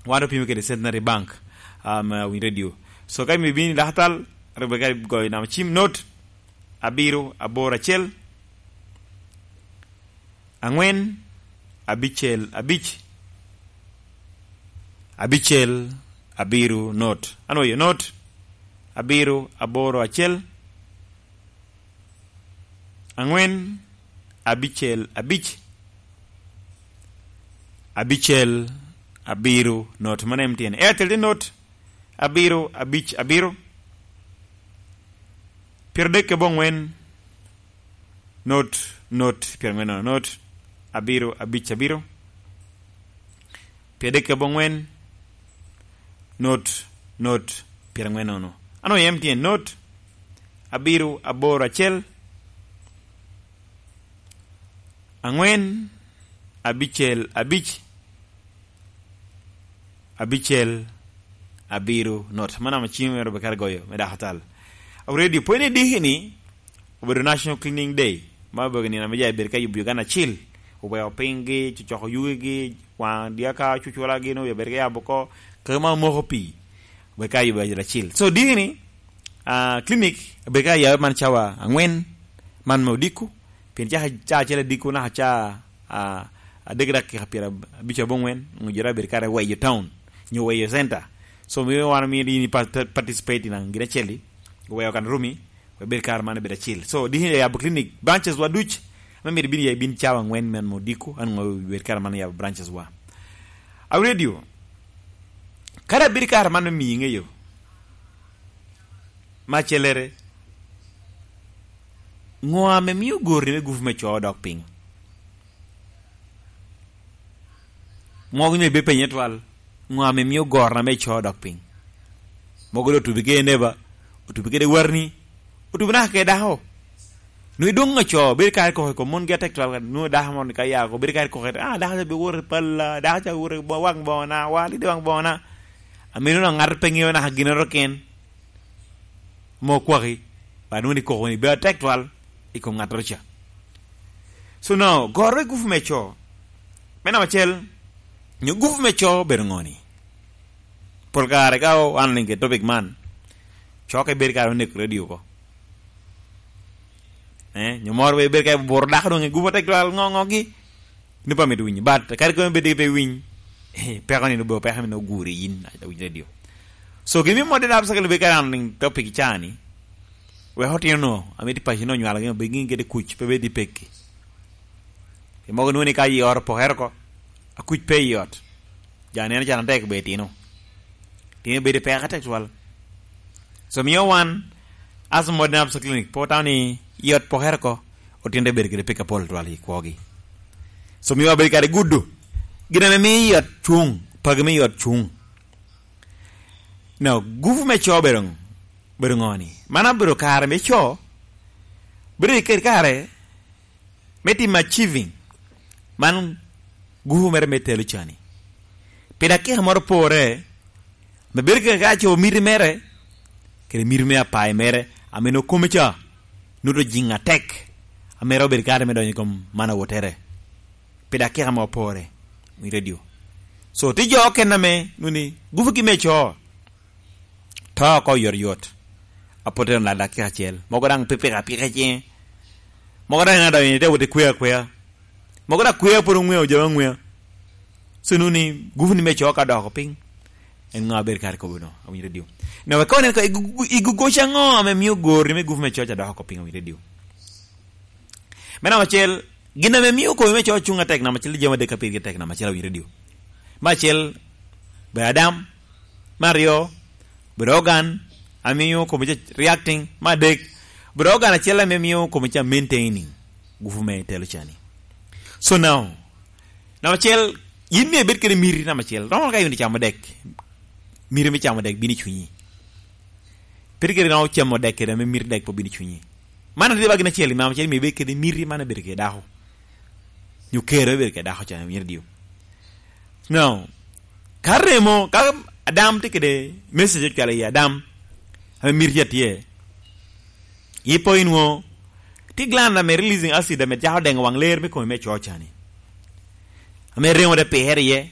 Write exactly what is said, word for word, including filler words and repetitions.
Wan opimo kede Centenary Bank, um, uh, Winy Radio. So ka imio bini dakatal, Rebecca goyo nam cim, not abiro aboro acel, angwen, abicel abic, abicel abiro not. Ano yo not, abiro aboro acel, angwen, abicel abic, abicel abiro not. Mano M T N. Airtel tye not abiro abic abiro, pyeradek kede abongwen, not, not pyerangwen nono, not abiro abic abiro, pyeradek kede abongwen, not, not pyerangwen nono. Ano M T N, not abiro aboro acel, angwen, abicel abic, abicel abiro not. Mano ame cim mere obekar goyo me dako tal. Awo radio pwene diki ni obedo National Cleaning Day, ma obedo nino ame ja bedo ka yubo Uganda acil, oweo pinygi, cocoko yugigi, waŋ dyaka, cucula gin obedo ka yabo oko, kaka ma omoko pii, obedo ka yubo Uganda acil. So diki ni, ah, clinic obedo ka yabe man cawa angwen, man me odiko, pien caa, caa acel adiko naka caa, ah, adek dakika pyera abic abongwen, onyo jere abedo kare weyo town, nyo weyo center. So mio wan omio in pa-, participate in gin acel-li, weyo kan rumi, we bed kare man bed acil. So diki ni yabo clinic, branches wa duc, ame myero ibin ya ibin cawa angwen men me odiko, an ongo bed kare man yabo branches wa. Awo radio, kara bed kare man me miyi ŋeyo, ma cellere, ŋo ame mio gori me gupu me co odok piny? Mogo ni ibe penye twal, ŋo ame mio gorna me co odok piny? Mogo doŋ otubi kede neba, otubi kede warni, otubi naka kede dako. Nwoŋo idwoŋ aco, bedo kare koko i kom mongi atek twal, nwoŋo dako moro ni ka ya oko, bedo kare koko, ah, dako ca be woto i palla, dako ca woto i bo-, waŋ boŋona, wa, lido waŋ boŋona. Amino nwoŋo ŋat pe ŋeo naka ginnoro ken. Mo kwaki, ba nwoŋo ni koko ni bedo atek twal i kom ŋattoro ca. So now, gorre gupu me co. Me namba acel, nyo gupu me co bedo ŋo ni? Pol kare ka wan oliŋ kede topic man, co ka ibedo kare oneko radio oko. Eh, nyo moro be ibedo ka iburo dako doŋ i gupu atek twal ŋo ŋogi. Ni pe amito winyo. But kadi kono bed pe iwiny, eh, peko ni nwoŋo peko ni nwoŋo oguri yin, a winyo radio. So gin me modde dap sakelo be kare an topic cani. Wek otino no, ame tye paco no onywalo gin, be gin kede kuc, pe bed i pekki. Pi mogo nwoŋo ni ka i ot opokere oko, akuc pe i ot. Ja neno can atek be itino. Tino bedo i peko atek twal. So mio wan, as modern Absa Clinic, pe otamo ni i ot pokere oko, otino te bedo kede pek apol twal i kwogi. So mio wabedo kare gudo. Gin ame mio i ot cuŋ, pagi me i ot cuŋ. Now, gupu me co bedo, bedo ŋo ni? Man abedo kare me co, bedo i kare, kare me timo achieving. Man gupu mere me telo cani. Pi dakika moro pore, me bedo kede ka co miti mere, kede miti me apayi mere, ame nwoŋo kome ca, nuto jiŋ atek, ame ro bedo kare me donyo i kom man awotere. Pi dakika mo pore, i radio. So, tye jo okene ame, nwoŋo ni, gupugi me co, to oko yot yot. Apote na dakika acel. Mogo daŋ pe pika pika i ciŋe. Mogo daŋ na donyo te wot i kwea kwea. Mogo daŋ kwea pwod oŋwea, ojabo aŋwea. So nwoŋo ni gupu ni me co ka doko piny. En ŋo abedo kare kobo no, awinyo radio. Na wek kono en ko, igu-, igu-, igu goca ŋo ame mio gori me gupu me co ca doko piny, awinyo radio. Me namba acel, gin ame mio komi me co cuŋ atek, namba acel, jami adek ka pirgi tek, namba acel awinyo radio. Me acel, bedo adam. Me aryo, bedo organ, amiyo komi ca reacting. Me adek, bedo organ acel ame mio komi ca maintaining gupu me telo cani. So now, namba acel, yin myero ibed kede miti namba acel. Romo ka yin camo dek, miti me camo dek bino i cunyi. Pe tye kede romo camo dek kede ame miti dek pe obino i cunyi. Man tye ba gin acel, namba acel myero ibed kede miti man abedo kede dako. Nyo kero abedo kede dako ca, myero diu. Now, ka remo, ka Adam tye kede message ocwalo i Adam, ame miti atye, ipo inwo, tye gland ame releasing acid ame cako dengo waŋ ler me komi me co cani. Ame remo de pire iye,